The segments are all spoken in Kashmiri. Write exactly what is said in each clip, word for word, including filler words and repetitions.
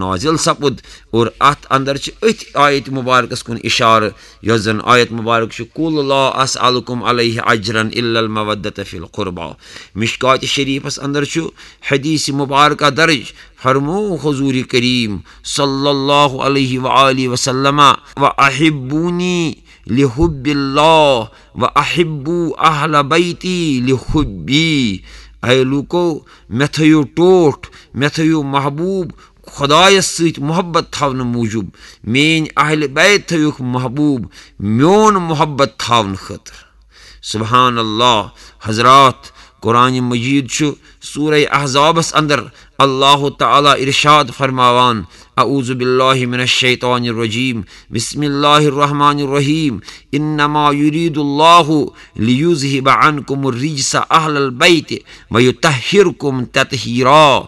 نازل سپُد۔ اور اتھ اندر چھِ أتھۍ آیت مبارکس کُن اشارٕ، یۄس زن آیت مبارک چھِ، "قل لا اسألکم علیہ اجرا الا المودۃ فی القربی۔" مشکات شریفس اندر چھُ حدیث مبارکہ درج، فرمو حضور کریم صلی اللہ علیہ وآلہ وسلم، "و احبونی لحب اللہ و احبو اہل بیتی لحبی۔" اے لوکو، مےٚ تھٲیِو ٹوٹھ، مےٚ تھٲیِو محبوب خۄدایَس سۭتۍ محبت تھاونہٕ موٗجوٗب، میٲنۍ اہل بیت تھٲیِوکھ محبوب میون محبت تھاونہٕ خٲطرٕ۔ سبحان اللہ۔ حضرات، قرآن مجید چھُ سورہ احزابس اندر اللہ تعالیٰ ارشاد فرماوان، اعوذ باللہ من الشیطان الرجیم، بسم اللہ الرحمن الرحیم، انما یرید اللہ لیذہب عنکم الرجس اہل البیت ویطہرکم تطہیرا۔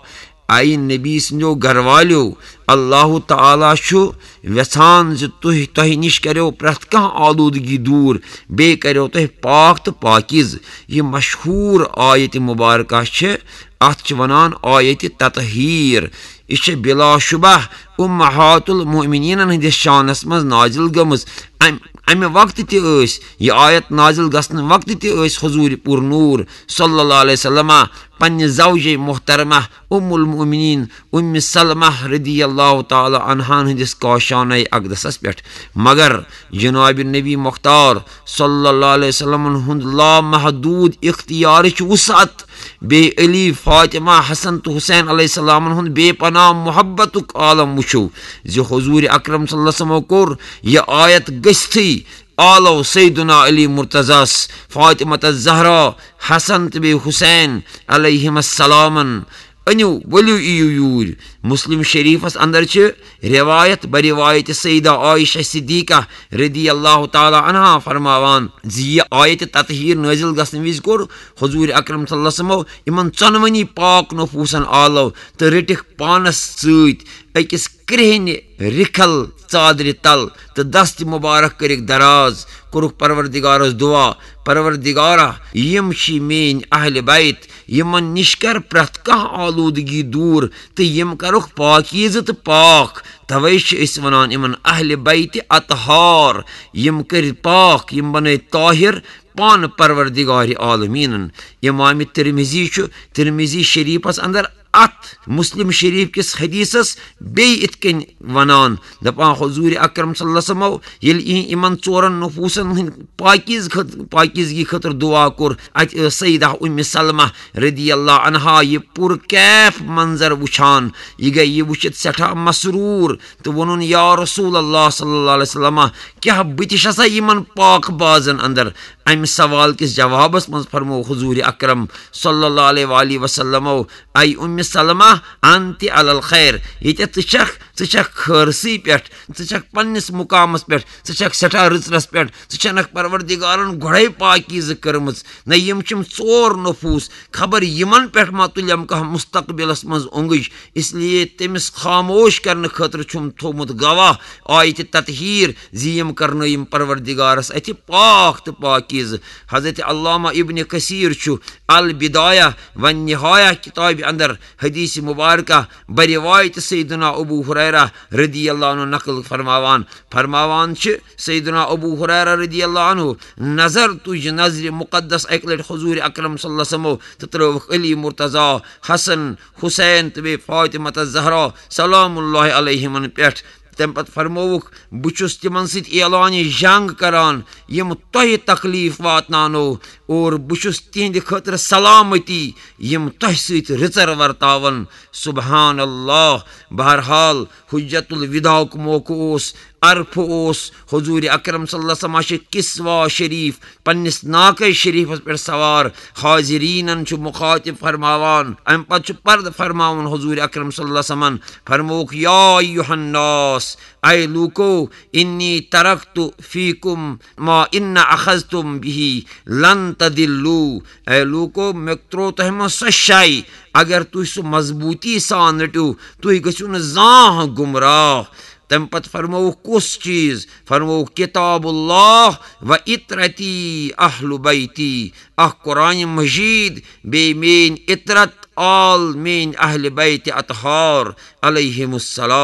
اے نبی سٕنٛدیو گرٕ والیو، اللہ تعالیٰ چھُ یژھان زِ تُہۍ، تۄہہِ نِش کریو پرٛٮ۪تھ کانٛہہ آلودگی دوٗر، بیٚیہِ کریو تۄہہِ پاک تہٕ پاکیٖزٕ۔ یہِ مشہوٗر آیت مبارکہ چھِ، اَتھ چھِ وَنان آیت تطہیر۔ یہِ چھِ بلا شبہ امہات المؤمنینن ہٕنٛدِس شانس منٛز نازل گٔمٕژ۔ اَمہِ، اَمہِ وقتہٕ تہِ ٲسۍ، یہِ آیت نازل گژھنہٕ وقتہٕ تہِ ٲسۍ حضوٗرِ پُر نوٗر صلی اللہ علیہ وسلمہ پننہِ زوجے محترمہ ام المؤمنین ام سلمہ رضی اللہ تعالیٰ عنہان ہٕنٛدِس کاشانہ اقدسس پٮ۪ٹھ۔ مگر جناب نبی مختار صلی اللہ علیہ وسلمن ہُنٛد لامحدود اختیارٕچ وسعت، بیٚیہِ علی، فاطمہ، حسن تہٕ حسین علیہ السلامن ہُنٛد بے پناہ محبتُک عالم وٕچھِو زِ حضور اکرم صلی اللہ علیہ وسلمو کوٚر یہِ آیت گٔژھتھٕے آلو سیدنا علی مرتضیٰ ہس، فاطمہ الزہرا، حسن تہٕ بیٚیہِ حسین علیہم السلامن، "أنِو، ؤلِو، یِیِو یوٗرۍ۔" مسلم شریفس اندر چھِ روایت، بروایت سیدہ عائشہ صدیقہ رضی اللہ تعالیٰ عنہا فرماوان زِ یہِ آیت تطہیر نازل گژھنہٕ وِزِ کوٚر حضور اکرم صلی اللہ علیہ وسلمو یِمن ژۄنوٕنی پاک نفوسن آلو تہٕ رٔٹِکھ پانس سۭتۍ أکِس کرٛہنہِ رِکھل ژادرِ تل تہٕ دست مبارک کٔرِکھ دراز، کوٚرُکھ پروردگارس دعا، "پروردگارا، یِم چھِ میٲنۍ اہل بیت، یِمن نِش کر پرٛٮ۪تھ کانٛہہ آلودگی دوٗر تہٕ یِم کرُکھ پاکیٖزٕ تہٕ پاک۔" توے چھِ أسۍ ونان یِمن اہل بیت اطہار، یِم کٔرۍ پاک، یِم بنٲے طاہر پانہٕ پروردگار عالمیٖنن۔ امام ترمذی چھُ ترمذی شریفس اندر اتھ مسلم شریف کِس حدیثس بیٚیہِ اِتھ کٔنۍ ونان، دپان، حضور اکرم صلی اللہ علیہ وسلمو ییٚلہِ یِہنٛد یِمن ژورن نفوسن ہٕنٛدۍ پاکیز خٲط-، پاکیزگی خٲطرٕ دعا کوٚر، اتہِ ٲس سیدہ ام سلمہ رضی اللہ عنہا یہِ پُر کیف منظر وٕچھان۔ یہِ گٔے یہِ وٕچھِتھ سٮ۪ٹھاہ مسروٗر تہٕ ووٚنُن، "یا رسول اللہ صلی اللہ علیہ وسلم، کیٛاہ بہٕ تہِ چھسا یِمن پاک بازن اندر؟" امہِ سوال کِس جوابس منٛز فرموو حضور اکرم صلی اللہ علیہ وآلہ وسلمو، "اے ام سلمہ، انت علی الخیر، ییٚتٮ۪تھ ژٕ چھکھ، ژٕ چھکھ خٲرسٕے پٮ۪ٹھ، ژٕ چھکھ پننِس مقامس پٮ۪ٹھ، ژٕ چھکھ سٮ۪ٹھاہ رٕژرس پٮ۪ٹھ، ژٕ چھنکھ پروردگارن گۄڈے پاکیزٕ کٔرمٕژ، نہ یِم چھِم ژور نفوس، خبر یِمن پٮ۪ٹھ ما تُلٮ۪م کانٛہہ مستقبلس منٛز اونگٕج، اس لیے تٔمِس خاموش کرنہٕ خٲطرٕ چھُم تھوٚومُت گواہ آیتِ تطہیر زِ یِم کرنٲیِم پروردگارس اتھِ پاک تہٕ پاکیزٕ۔" حضرت علامہ ابن کثیر چھُ البدایہ والنہایہ کتابہِ اندر حدیث مبارکہ بروایت سیدنا ابو ہریرہ رضی اللہ عنہ نقل فرماوان، فرماوان چھِ سیدنا ابو ہریرہ رضی اللہ عنہ، نظر تُج نظرِ مقدس اکہِ لٹہِ حضور اکرم صلی اللہ علیہ وسلمو تہٕ ترٲوکھ علی مرتضیٰ، حسن، حسین تہٕ بیٚیہِ فاطمہ الزہرا سلام اللہ علیہمن پٮ۪ٹھ۔ تَمہِ پتہٕ فرمووُکھ، "بہٕ چھُس تِمن سۭتۍ اعلانِ جنگ کران، یِم تۄہہِ تکلیف واتناونو، اور بہٕ چھُس تِہنٛدِ خٲطرٕ سلامتی، یِم تۄہہِ سۭتۍ رٕژر ورتاون۔" سبحان اللہ۔ بہرحال، حجت الوداعُک موقعہٕ اوس، عرفہٕ اوس، حضور اکرم صلی اللہ علیہ وسلم چھِ کسوہ شریف پننِس ناقہ شریفس پٮ۪ٹھ سوار، حاضریٖنن چھُ مخاطب فرماوان۔ امہِ پتہٕ چھُ پردٕ فرماوان حضور اکرم صلی اللہ علیہ وسلمن، فرمووُکھ، "یا ایھا الناس، اے لوٗکو، انی ترکت فیکم ما ان اخذتم بہ لن تضلوا۔" اے لوٗکو، مےٚ ترٛوو تۄہہِ منٛز سۄ شے، اگر تُہۍ سُہ مضبوٗطی سان رٔٹِو، تُہۍ گٔژھِو نہٕ زانٛہہ گمراہ۔ تَمہِ پتہٕ فرمووُکھ کُس چیٖز؟ فرمووُکھ کتاب اللہ و عترتی اہل بیتی، اکھ قرآن مجید، بیٚیہِ میٲنۍ عترت آل، میٲنۍ اہل بیت اطہار علیہم السلام۔